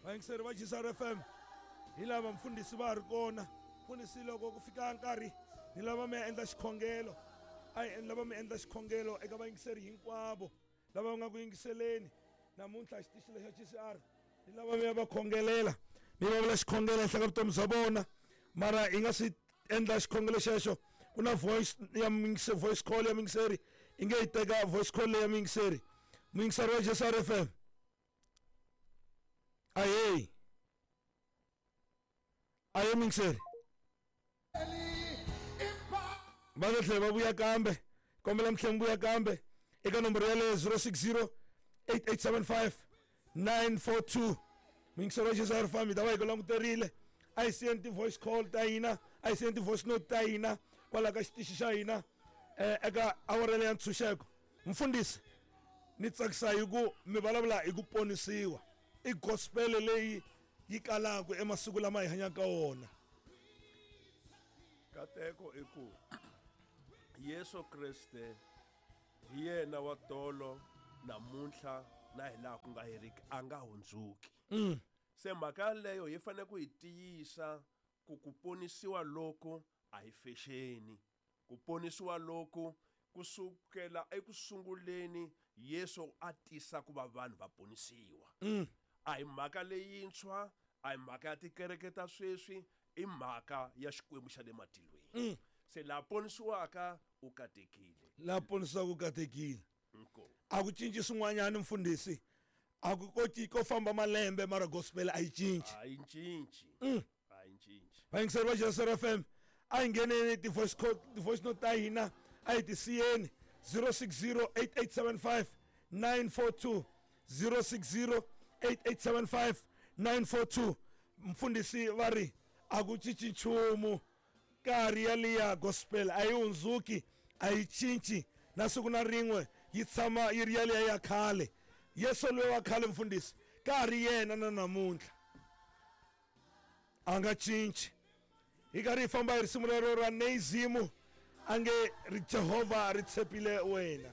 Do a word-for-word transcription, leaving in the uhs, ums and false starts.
Vayingiseri va G C R F M hi lava mfundhisi va ha ri kona. Mfundhisi loko ku fika nkarhi ni lava mi ya endla xikhongelo. A hi lava mi endla xikhongelo eka vayingiseri hinkwavo lava va nga ku yingiseleni namuntlha xitichi lexa G C R. Ni lava mi ya va khongelela, mi va vula xikhongelo ehenhla ka vutomi bya vona. Mara hi nga swi endla xikhongelo xexo, ku na voice ya muyingiseri, voice call ya muyingiseri. I nge yi teka voice call leyi ya muyingiseri. Muyingiseri wa G C R F M. Ahee. Ahee muyingiseri. Va ta tlhela va vuya kambe. Kombela mi tlhela mi vuya kambe eka nomboro yaleyo zero six zero eight eight seven five nine four two. Muyingiseri wa G C R F M hi ta va hi ku languterile. A hi siyeni ti-voice call ta hina, a hi siyeni ti-voice note ta hina kwalaho ka xitichi xa hina, eh, eka awara leyi ya ntshunxeko. Mfundhisi, ni tsakisa hi ku mi vulavula hi ku ponisiwa. I gospel leyi yi kalaka emasiku lama hi hanyaka ka wona. Kateko i ku Yesu Kriste hi yena wa tolo namuntlha na hi laha ku nga heriki, a nga hundzuki. Mm. Se mhaka yaleyo hi fanele ku yi tiyisa ku ku ponisiwa loko a hi fexeni. Ku ponisiwa loko kusukela ekusunguleni Yesu a tisa ku va vanhu va ponisiwa. Mm. A hi mhaka leyintshwa, a hi mhaka ya tikereke ta sweswi, i mhaka ya Xikwembu xa le matilweni. Mm. Se la ponisiwaka u katekile. La ponisiwaka u katekile. Inkomu. A ku cinci swin'wanyana mfundhisi. A ku koti ko famba malembe mara gospel a yi cinci. A yi cinci. Mm. A yi cinci. Vayingiseri va G C R F M, a hi ngheneni ti-voice call, ti-voice note ta hina, a hi ti siyeni zero six zero eight eight seven five nine four two, zero six zero eight eight seven five nine four two. Mfundhisi va ri a ku cinci nchumu, nkarhi yaliya gospel a yi hundzuki, a yi cinci na siku na rin'we, yi tshama yi ri yaliya ya khale. Yesu loyi wa khale mfundhisi ka ha ri yena na namuntlha, a nga cinci. Hi karhi hi famba hi risimu rero ra Neizimu, a nge ri Jehovha ri tshepile wena.